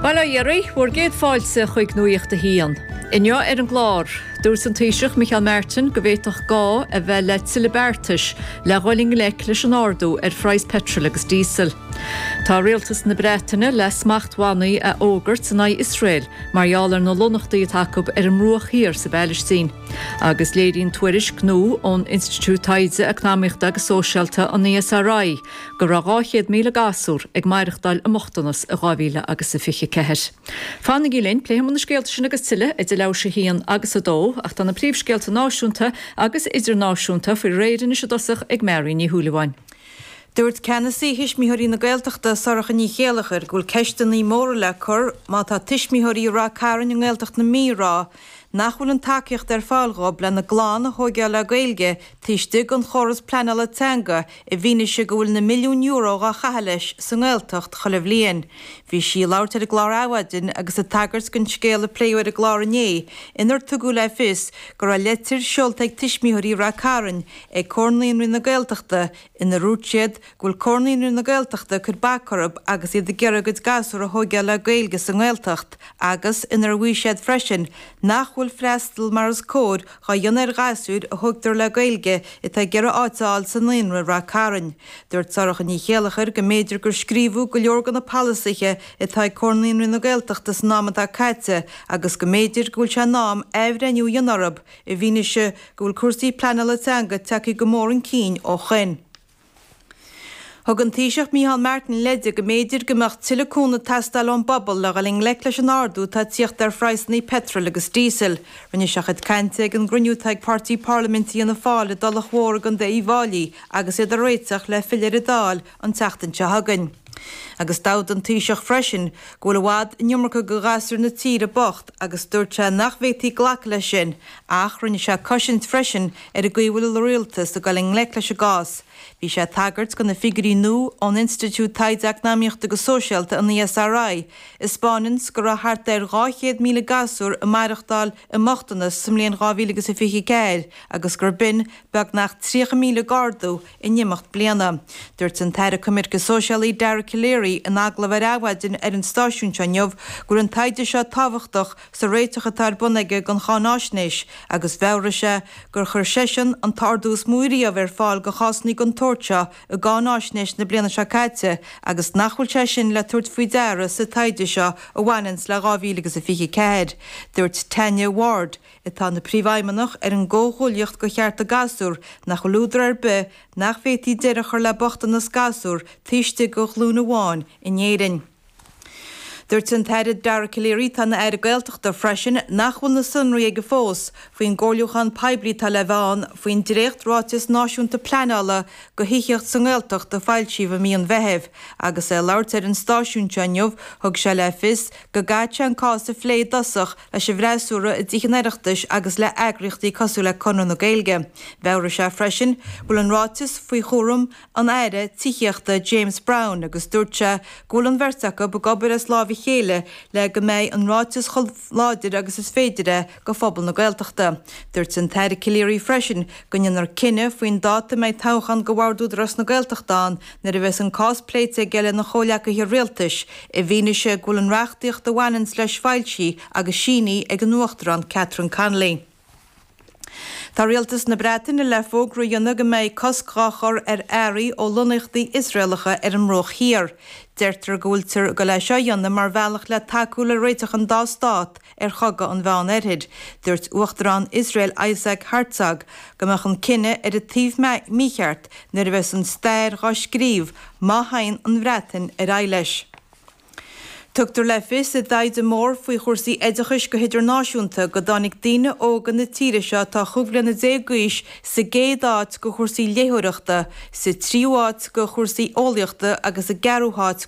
Bail ó Dhia oraibh, bhur gcéad fáilte chuig Nuacht a hAon. Inniu ar an gclár, dúirt an Taoiseach Micheál Martin go bhféadfadh gá a bheith le tuilleadh beartais le dhul i ngleic leis an ardú ar phraghas peitril agus díosail. Tá rialtas na Breataine le smachtbhannaí a fhógairt in aghaidh Iosrael mar gheall ar na lonnaíochtaí atá acu ar an mBruach Thiar sa bPailistín. Agus léiríonn tuairisc nua ón Institiúid Taighde Eacnamaíochta agus Sóisialta, an ESRI, go raibh 200,000 gasúr ag maireachtáil i mbochtanas i 2000 agus a 24. Fanaigí linn, pléifidh muid na scéalta sin agus tuilleadh idir leathuair tar éis a haon agus a dó, ach tá na príomhscéalta náisiúnta agus idirnáisiúnta faoi réir anois i dtosach ag Mary Ní Shúilleabháin. Dúirt Ceannasaí Thuismitheoirí na Gaeltachta, Sorcha Ní Chéilleachair, go bhfuil ceisteanna móra le cur má tá tuismitheoirí i Rath Cairn i nGaeltacht na Mí ag rá nach bhfuil an tacaíocht ar fáil dhóibh lena gclann a thóigeáil le Gaeilge taobh istigh den chóras pleanála teanga i bhfianaise go bhfuil na milliúin euro dhá chaitheamh leis sa nGaeltacht chuile bhliain. Bhí sí ag labhairt ar an gclár Adhmhaidin agus ag tagairt don scéal a pléadh ar an gclár inné inar tugadh le fios go raibh leitir seolta ag tuismitheoirí Rath Cairn ag Comhar Naíonraí na Gaeltachta inar dhúirt siad go bhfuil Comhar Naíonraí na Gaeltachta ag cur bac orthu agus iad ag iarraidh a gcuid gasúr a thóigeáil le Gaeilge sa nGaeltacht agus inar mhaígh siad freisin nach bhfuil freastal mar is cóir dhá dhéanamh ar ghasúir a thógtar le Gaeilge atá ag iarraidh áit a fháil sa naíonra i Rath Cairn. Dúirt Sorcha Ní Chéilleachair go mb'fhéidir gur scríobhadh go leor de na polasaithe atá ag Comhar Naíonraí na Gaeltachta san am atá caite agus go mb'fhéidir go bhfuil sé in am athbhreithniú a dhéanamh orthu i bhfianaise go bhfuil cúrsaí pleanála teanga tagtha go mór chun cinn ó shoin. Thug an Taoiseach Micheál Martin leide go mb'fhéidir go mbeadh tuilleadh cúnamh ag teastáil ón bpobal le dhul i ngleic leis an ardú atá ag tíocht ar phraghsanna peitril agus díosail. Rinne sé a chuid cainte ag an gcruinniú atá ag páirtí parlaiminte Fhianna Fáil i dTulach Mhór i gContae Uíbh Fháilí agus iad ag réiteach le filleadh ar an Dáil an tseachtain seo chugainn. Agus d'admhaigh an Taoiseach freisin go bhfuil i bhfad an iomarca de ghasúir na tíre bocht agus dúirt sé nach bhféadfaí glacadh leis sin ach rinne sé cosaint freisin ar an gcaoi a bhfuil an rialtas ag dul i ngleic leis an gcás. Bhí sé ag tagairt do na figiúirí nua ón Institiúid Taighde Eacnamaíochta agus Sóisialta, an ESRI, a 'spáineanns go raibh thart ar 200,000 gasúr ag maireachtáil i mbochtanas sa mbliain 2024 agus gur b'in beagnach 30,000 d'ardú in imeacht bliana. Dúirt an tAire Coimirce Sóisialaí Dara Calleary in agallamh ar Adhmhaidin ar an stáisiún seo inniu go bhfuil an taighde seo tábhachtach sa réiteach atá ar bun aige don cháináisnéis agus mheabhraigh sé gur chuir seisean an t-ardú is mó riamh ar fáil do chásanna den tsórt seo i gcáináisnéis na bliana seo caite agus nach bhfuil sé sin le tabhairt faoi deara sa taighde seo a bhaineanns le 2024. Dúirt Tanya Ward, atá ina príomhfheidhmeannach ar an gComhghuaillíocht do Chearta Gasúr, nach bhfuil údar ar bith nach bhféadfaí deireadh a chur le bochtanas gasúr taobh istigh de ghlúin amháin in Éirinn. Dúirt an tAire Dara Calleary, atá ina Aire Gaeltachta freisin, nach bhfuil na sonraí aige fós faoin gcomhairliúchán poiblí atá le bheith ann faoin dréacht-Ráiteas Náisiúnta Pleanála do Thithíocht sa nGaeltacht a foilsíodh i mí an Mheithimh. Agus é ag labhairt ar an stáisiún seo inniu, thug sé le fios go gcaithfidh sé an cás a phlé i dtosach leis an bhfreasúra i dTithe an Oireachtais agus le heagraíochtaí cosúil le Conradh na Gaeilge. Mheabhraigh sé freisin go bhfuil an ráiteas faoi chúram an Aire Tithíochta James Browne agus dúirt sé go bhfuil an bheirt acu ag obair as láimh a chéile le go mbeidh an ráiteas chomh láidir agus is féidir é do phobal na Gaeltachta. Dúirt an tAire Calleary freisin go ndéanfar cinneadh faoin dáta a mbeidh toghchán do Bhord Údarás na Gaeltachta ann nuair a bheas an cás pléite aige lena chomhleacaithe rialtais i bhfianaise go bhfuil an reachtaíocht a bhaineanns leis foilsithe agus sínithe ag an Uachtarán Catherine Connolly. Tá rialtas na Breataine le fógra a dhéanamh go mbeidh cosc dhá chur ar earraí ó lonnaíochtaí Iosraelacha ar an mBruach Thiar. Deirtear go bhfuiltear ag dul é seo a dhéanamh mar bhealach le tacú le réiteach an dá stát ar chogadh an Mheán Oirthir. Dúirt Uachtarán Iosrael Isaac Herzog go mbeadh an cinneadh ar an taobh mícheart nuair a bheas an stair dhá scríobh má théann an Bhreatain ar aghaidh leis. Tugtar le fios i dtaighde mór faoi chúrsaí oideachais go hidirnáisiúnta go dtáinig daoine óga na tíre seo atá 15 bliana d'aois sa gcéad áit go chúrsaí léitheoireachta, sa tríú háit go chúrsaí eolaíochta agus sa gceathrú háit.